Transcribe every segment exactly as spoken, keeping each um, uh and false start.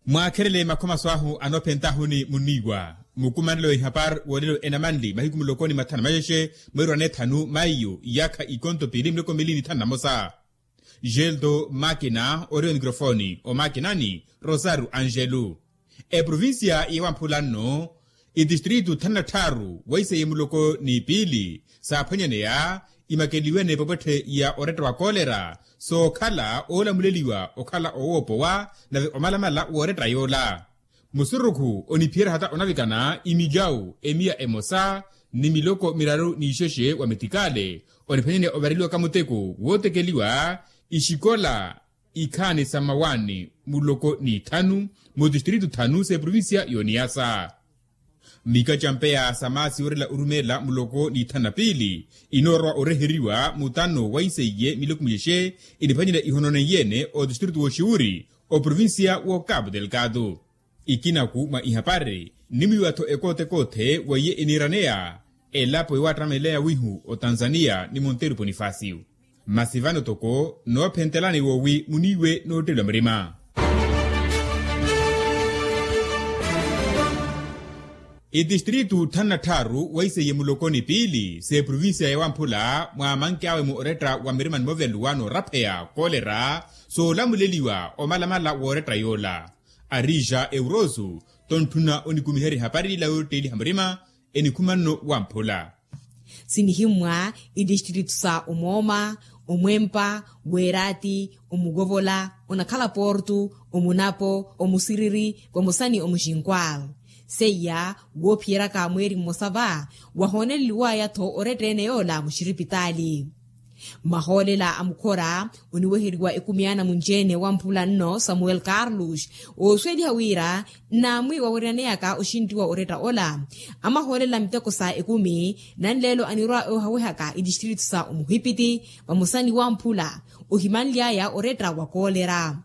Mwaakherele makhomaso ahu anoophentahuni munniiwa. Mukumanelo wa ihapari woolelo enamanli mahiku muloko ni mathanu maxexe, mweeri wa neethanu maiyu, iyaakha ikonto piili miloko miili ni thanu na mosa. Geldo makina ori onikrofoni omakinani, rosario angelo. Eprovincia ya wamphula nno, itistritu thanu na tthaaru waiseye muloko ni piili saaphwanyaneya, imakeliwe n'epopwetthe ya oretta wa kolera, sookhala oolamuleliwa okhala owoopowa nave omalamala w'oretta yoola. Musurukhu oniphiyerya hata onavikana imilyawu emiya emosa ni miloko miraru n'ixexe wa metikale, oniphwanyaneya ovareliwaka muteko wootekeliwa ixikola ikhaani sa mmawaani muloko n'ithanu, mu tistritu thanu s'eprovincia y'oniyasa. Mika ca mpeya sa maasi yorela orumeela muloko n'ithanu na piili, inoorowa oreheriwa mutano waiseiye miloko mixexe, eniphwanyela ihononeiye-ene otistritu w'oxiwuri, oprovincia w'okapu delgado. Ikinaku mwa ihapari, nnimwiiwa-tho ekoote-koothe weiye eniiraneya elapo yowattameleya wihu otanzania ni monteiro ponifasio. Masi vano toko noophentelani woowi muniiwe nootteliwa murima. Itistritu thanu na tthaaru waiseiye muloko ni piili s'eprovincia ya wamphula mwa manki awe mu oretta wa mirima ni moveluwa noorapheya kolera, soolamuleliwa omalamala w'oretta yoola. Arija eurosu tontthuna onikumiherya ehapari ila yootteeliha murima, enikhuma nno wamphula. Sinihimmwa itistritu sa omooma, omwempa, weeraati, omukovola, onakhala portu, omunapo, omusiriri, vamosa ni omuxinkwal. Seiya woophiyeryaka mweeri mmosa va, wahooneleliwaya-tho oretta-ene yoola muxiripitaali. Mahoolela a mukhora oniweheriwa ekumi ana munci-ene wamphula nno samuel carlos, oosuweliha wira nnaamwi wawerenaneyaka oxinttiwa oretta ola. Amahoolela miteko sa ekumi nanleelo anirwa oohawehaka itistritu sa omuhipiti vamosa ni wamphula, ohimanly'aya oretta wa kolera.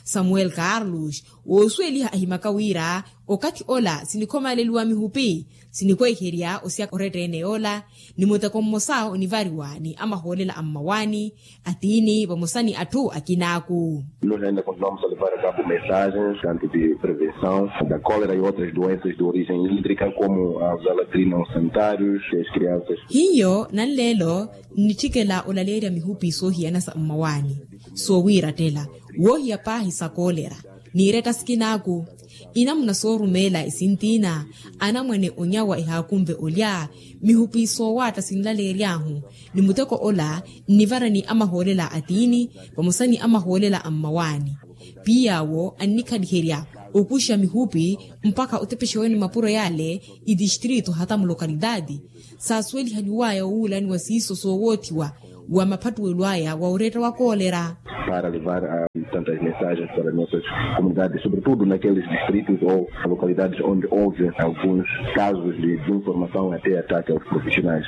Samuel carlos woosuweliha ahimaka wira okathi ola sinikhomaleliwa mihupi, sinikweherya osiyaka oretta-ene yoola, ni muteko mmosa onivariwa ni amahoolela a mmawaani, atiini vamosa ni atthu akinaaku. Nos ainda continuamos a levar a cabo mensagens tanto de prevenção da cólera e outras doenças de origem hídrica como a zalatrina aos sanitários e as crianças. Hiyo nanleelo nnitthikela olaleerya mihupi soohiyana sa mmawaani, soowiirattela, woohiya paahi sa kolera, n'iretta sikinaaku. Inamuna soorumeela esintiina anamwane onyawa ehaakunve olya, mihupi soowaatta sinlaleery'ahu, ni muteko ola nnivara ni amahoolela a tiini vamosa ni amahoolela a mmawaani. Piy'awo annikhaliherya okuxa mihupi mpakha otepexewani mapuro yale itistritu hata mulokalitaati, saasuwelihaliwaya owuulaniwa siiso soowoothiwa wa maphattuwelo aya wa oretta wa kolera. Para levar tantas mensagens para nossas comunidades sobretudo naqueles distritos ou localidades onde houve alguns casos de desinformação até ataque aos profissionais.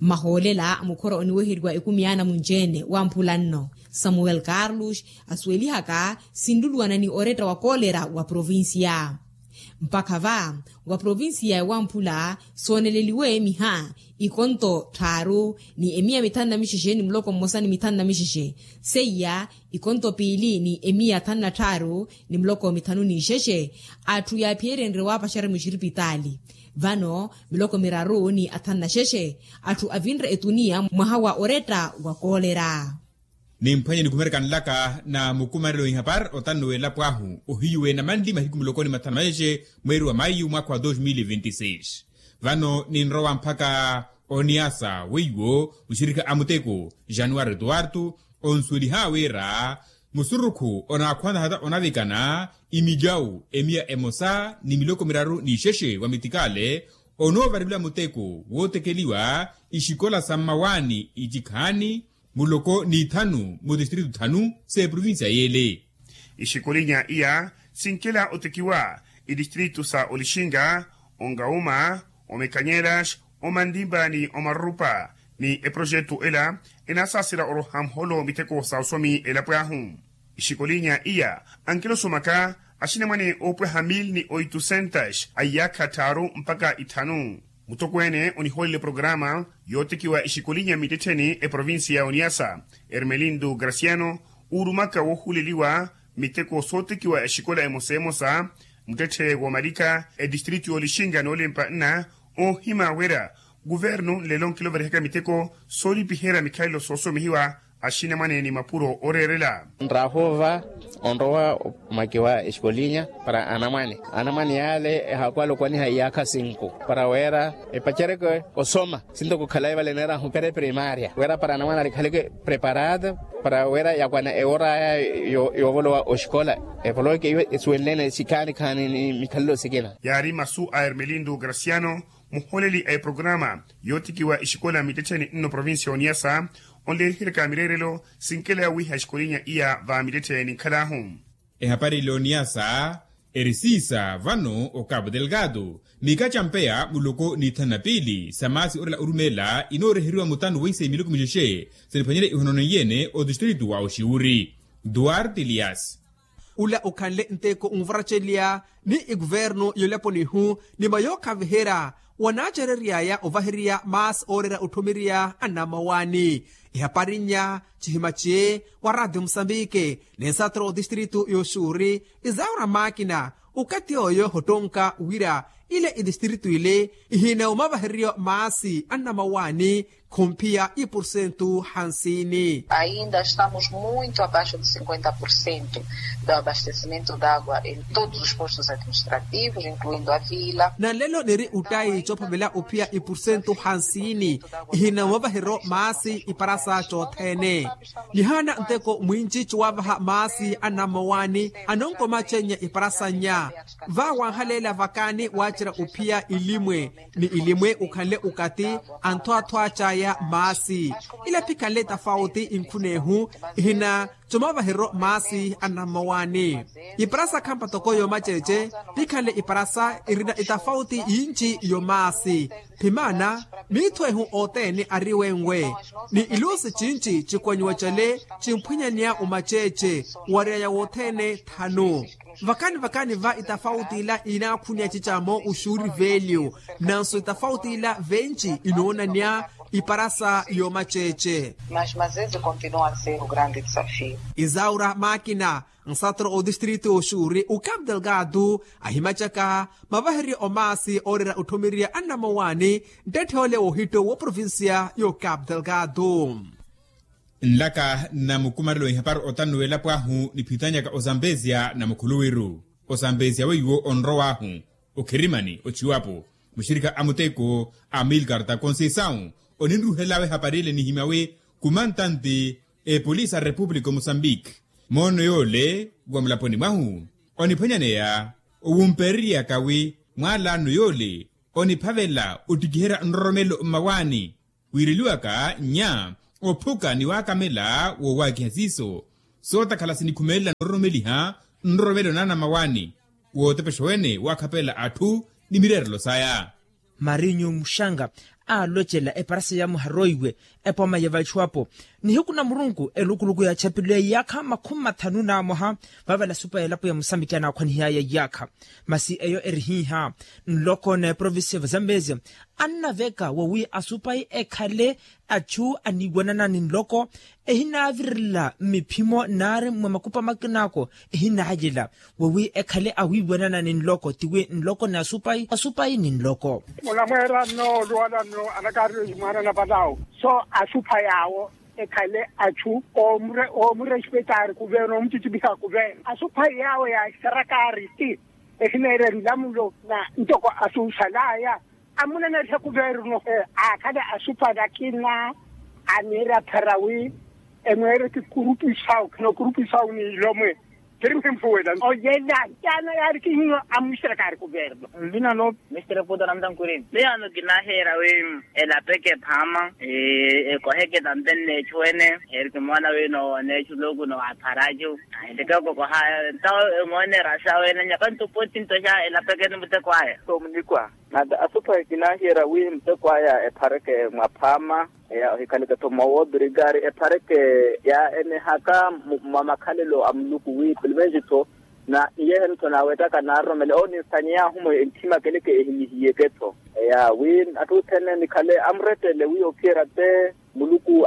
Mahoolela a mukhora oniweheriwa ekumi ana munci-ene wamphula nno samuel carlos asuwelihaka sinluluwana ni oretta wa kolera wa provincia. Mpakha va wa provincia ya wamphula sooneleliwe miha ikonto tthaaru ni emiya mithanu na mixexe ni muloko mmosa ni mithanu na mixexe, seiya ikonto piili ni emiya thanu na tthaaru ni muloko mithanu n'ixexe. Atthu yaaphiyerenrye waapaxerya muxiripitaali vano miloko miraru ni athanu na xexe atthu avinre etuniya mwaha wa oretta wa kolera. Nimphwanye nikumerekanlaka na mukumarelo ihapari otanno w'elapo ahu ohiyu w'enamanli mahiku muloko ni mathanu maxexe mweeri wa maiyu mwaakha wa dos mil e vinte e seis. Vano ninrowa mpakha oniyasa weiwo muxirikha a muteko januwari tuwartu onsuweliha wira musurukhu onaakhwantha hata onavikana imilyawu emiya emosa ni miloko miraru n'ixexe wa mitikale onoovareliwa muteko wootekeliwa ixikola sa mmawaani icikhaani muloko n'ithanu mu tistritu thanu s'eprovincia y'ele. Ixikolinya iya sinkela otekiwa itistritu sa olixinga, ongauma, omekanyelas, omantimba ni omarupa ni eprojetu ela enaasaasela oroha muholo miteko sa osomi elapo ahu. Ixikolinya iya ankilosomaka axinamwane oopweha mil ni oitusentas a iyaakha tthaaru mpakha ithanu. Mutokweene onihoolele programa yootekiwa ixikolinya mittettheni eprovincia ya oniasa, ermelindo graciano, uurumaka woohuuleliwa Miteko sootikiwa exikola emosa emosa, muttetthe woomalika etistritu yoolixinka noolimpa nna oohima wira kuvernu nlelo nkiloverihaka miteko soolipiherya mikhalelo soosomihiwa axinamwane ni mapuro ooreerela. Nraahova onrowa omaki wa exikolinya para anamwane anamwane yale ehakwala okwaniha iyaakha sinku para wira epacereke osoma. Sinto kukhalayi vale neerahu pere primaria wira para anamwane alikhaleke preparado para wira yakwana eworaya yoovolowa oxikola. Evoloke iwe esuwenlene sikhaani khaani ni mikhalelo sikina. Yaari masu a hermelindu graciano muholeli a eprograma yootikiwa exikola mittettheni nno provincia oniyasa onleeriheryaka mireerelo sinkela yawiiha exikolinya iya va mittettheni nkhalaahu. Ehapari ile oniyasa eri siisa vano o cabo delgado. Mika campeya muloko ni thanu na piili sa maasi orela orumeela inooreheriwa mutano wa isai miloko mixexe siniphwanyerye ihonono iyene otistritu wa oxiwuri duarte elias. Ula okhanle nteko onvaracelya ni ikuvernu yolapo nihu ni mayookhaviherya wanaacereryaya ovaheriya maasi ooreera otthumirya annamawani. Ehapari nnya cihima ci wa radio musambike ni nsatro otistritu yoxuuri isaura maakina okathi oyo hottonka wira ile itistritu ile ihina omavahereryo maasi annamawani khomphiya ipursentu hansini. Ainda estamos muito abaixo de cinquenta por cento do abastecimento de água em todos os postos administrativos incluindo a vila. Nanlelo niri uttayi coophavela ophiya ipursentu hansini ihina omavahereryo maasi iparasa cothene. Nihaana nteko mwinci ciwavaha maasi annamawani anonkomacenya iparasa nnya. Vaawanhaleela vakaani waacerya ophiya ilimwe ni ilimwe okhanle okathi anthoathwa caya maasi. Ila phikhanle tafauti inkhunehu ihina comavahereryo maasi annamawani. Iparasa khampa toko yoomaceece phikhanle iparasa irina itafauti yinci yomaasi. Phimaana miitho ehu othene ari wenwe ni iluusi cinci cikwanyiwa cale cimphwanyaneya omaceece wariyaya wothene thanu. Vakani vakani va itafauti ila inaakhuniya cicamo uxuuri velyu nanso itafauti ila venci inoonaneya iparasa yoomaceece. Mas mas esse continua a ser o grande desafio. Isaura maakina nsatro otistritu oxuuri o cabo delgado ahimacaka mavahereryo omaasi ooreera otthumirya annamawani nttette ole wohitto wo provincia yo cabo delgado. Nlaka nna mukumarelo ihapari otannu w'elapo ahu niphitanyaka ozambezia na mukhuluwiru. Ozambezia weiwo onrow'ahu okhirimani ochiwapo muxirikha a muteko a milkarta conceição oninruhel'awe ehapari ile nihimya wi kumantante epolisi a república o moçambique. Moono yoole wa mulaponi mwahu oniphwanyaneya owumpereryaka wi mwaalano yoole oniphavela ottikiherya nroromelo mmawaani. Wiireliwaka nnya ophuka ni waakamela woowaakiha siiso sootakhala sinikhumelela nororomeliha nroromelo naana mmawaani wootepexa wene waakhapela atthu ni mireerelo saya. Marinyu muxanga aalocela eparasa ya muharoiwe epoma ya vachiwapo nihiku na murunku elukuluku ya chapilo ya iyaakha makhumi mathanu na mwaha. Vavela supa ya elapo ya musambiki anaakhwanihiyaya iyaakha masi eyo erihihya nloko na eprovincia ya vazambezia annaveka wawi asupayi ekhale achu aniiwanana ni nloko ehinaavirela mmiphimo naari mwa makupa makinaako ehinaalela wawi ekhale awiiwanana ni nloko tiwi nloko ni asupayi asupayi ni nloko. Munamweera nno olwala nno anakaari oyi mwaana na palawo so asupayi awo ekhale achu oomurespetaari kuverno oomutitipiha kuverno asupayi awo yaaxarakaari ti ehineerya nlamulo na ntoko asuuxalaya amunanariha kuverno aakhale asupayi akina aniira pharawi emweereke kurupisawu khino kurupisawu ni ilomwe. Kiri mphimpuwela oyela caana yaari kihiyo amuxirakaari kuverno. Nvina no mestre puto namtankurini miyano kinaheera wi elapeke phama ekoheke tampe nneechu ene. Heri kimoona wi nowoneechu luku nowapharachu ahileke okokoha ntawo emoone erasa wene nyaka ntuputi ntoxa elapeke ni muteko aya. Somunikwa nata asupahi kinahiyerya wi muteko aya ephareke mwa phaama eya ohikhaleke-tho mwa woobrigari ephareke ya enehaka mwa makhalelo a muluku wi pulumensi-tho na iyehe-no-tho naawettaka naaroromele owo ninsanyeyahu-mo entthima keleke ehinihiyeke-tho eya wi atthu othene nikhale amurettele wi ophiyerya te. Muluku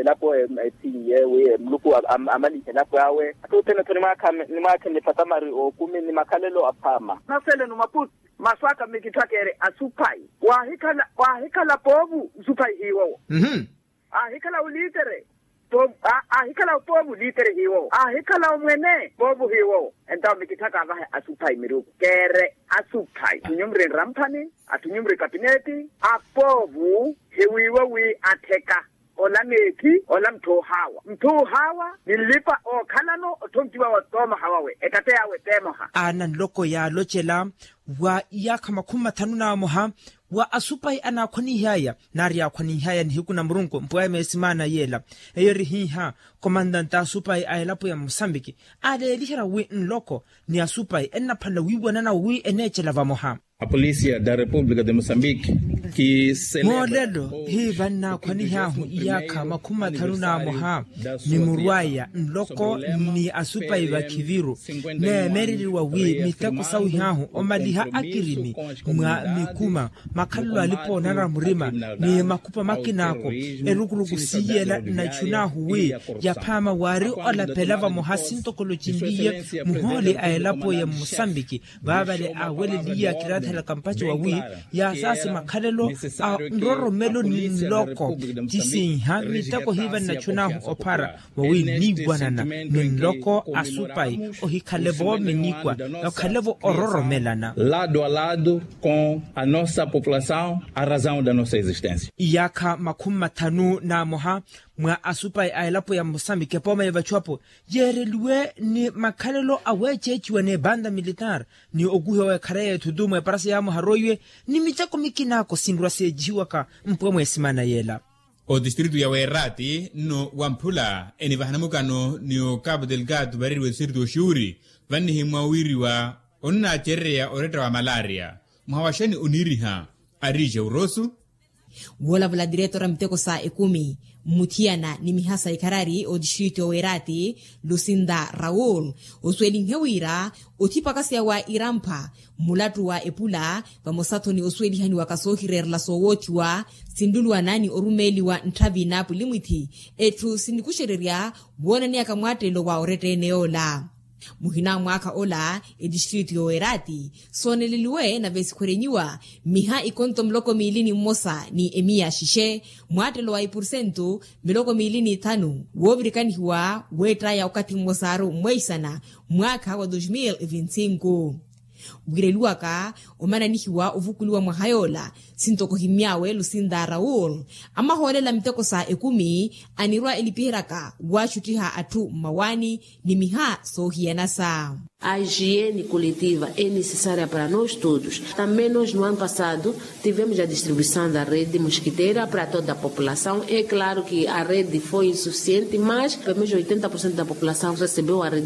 elapo ethinye wi muluku amalihe elapo awe. Athu othene-tho nimwaakhe nipatamari ookumi ni makhalelo aphaama. Naselenu maputi masu aka mikitthakere asuphayi. Waahikhala poovu nsuphayi hiiwowo. Aahikhala olitere. Aahikhala poovu litere hiiwowo aahikhala omwene poovu hiiwowo. Entawo mikitthaka avahe asuphayi miruku keere asuphayi athu nyumri nramphani athu nyumri kapineti. Apoovu hiwiiwe wi attheka ola meekhi ola mutth'ohaawa mutth'ohaawa ni nlipa ookhalano otthonkiwa wa toomoha wawe ekatte yaawe teemoha. Aana nloko yaalocela wa iyaakha makhumi mathanu n'amoha wa asupayi anaakhwanihaya nari yaakhwanihaya nihiku na murunku mpweya meesimaana yeela. Eyo eri hiiha komantante a asupayi a elapo ya musambiki aaleeliherya wi nloko ni asupayi ennaphwanela wiiwanana wi eneecela vamoha. A polícia da república de moçambique moolelo hi vannaakhwanihaahu iyaakha makhumi mathanu n'amoha ni murwaya nloko ni asupayi vakhiviru neemereriwa wi miteko sawihahu omaliha akirimi mwa mikuma makhalelo alipa onanara murima ni makhupa makinaako erukuruku siiyela nnachunaahu wi yaphaama waari olapela vamoha sintokolocinliye muhooli a elapo ya musambiki vaavale aaweleliye akiraathelaka mpaco wawi yaasaasi makhalelo a nroromelo ni nloko ti siiha miteko hiiva nnachunaahu ophara wawi niiwanana ni nloko asupayi ohikhale-vo minikwa okhale-vo ororomelana. Lado a lado com a nossa população a razão da nossa existência. Iyaakha makhumi mathanu n'amoha mwa asupayi a elapo ya musambiki epooma ya vachu apo yeereliwe ni makhalelo aweeceeciwa n'ebanda militar ni okuhiwa w'ekhara y'ethutu mwa eparasa yaamoha roiwe ni miteko mikinaako sinrwa seecihiwaka mpwe mweesimana yeela. Otistritu ya weerati nno wamphula enivahana mukano ni okapu delgado vareriwa etistritu oxuuri vannihimwa wiiriwa onnaacerereya oretta wa malaria mwaha wa xani oniiriha ariixe urosu. Woolavula diretora miteko sa ekumi mmuthiyana ni mihasa ikharari otistritu ya weerati lusinda raul osuwelinhe wira othipakaseya wa irampha mulattu wa epula vamosa-tho ni osuwelihaniwaka soohireerela soowoochiwa sinluluwana ni orumeeliwa ntthavi n'apulimwithi etthu sinikuxererya woonaneyaka mwaattelelo wa oretta-ene yoola. Muhina a mwaakha ola etistritu y'oweerati sooneleliwe nave sikhwerenyiwa miha ikonto muloko miili ni mmosa ni emiya xixe mwaattelo wa ipursentu miloko miili n'ithanu woovirikanihiwa weettaya okathi mmosaaru mweisana mwaakha wa dos mil e vinte e cinco. Wiireliwaka omananihiwa ovukuliwa mwaha yoola sintoko himmyaawe lusinda raul amahoolela miteko sa ekumi anirwa elipiheryaka waaxuttiha atthu mmawaani ni miha soohiyanasa. A higiene coletiva é necessária para nós todos. Também nós no ano passado tivemos a distribuição da rede mosquiteira para toda a população. É claro que a rede foi insuficiente, mas pelo menos oitenta por cento da população recebeu a rede.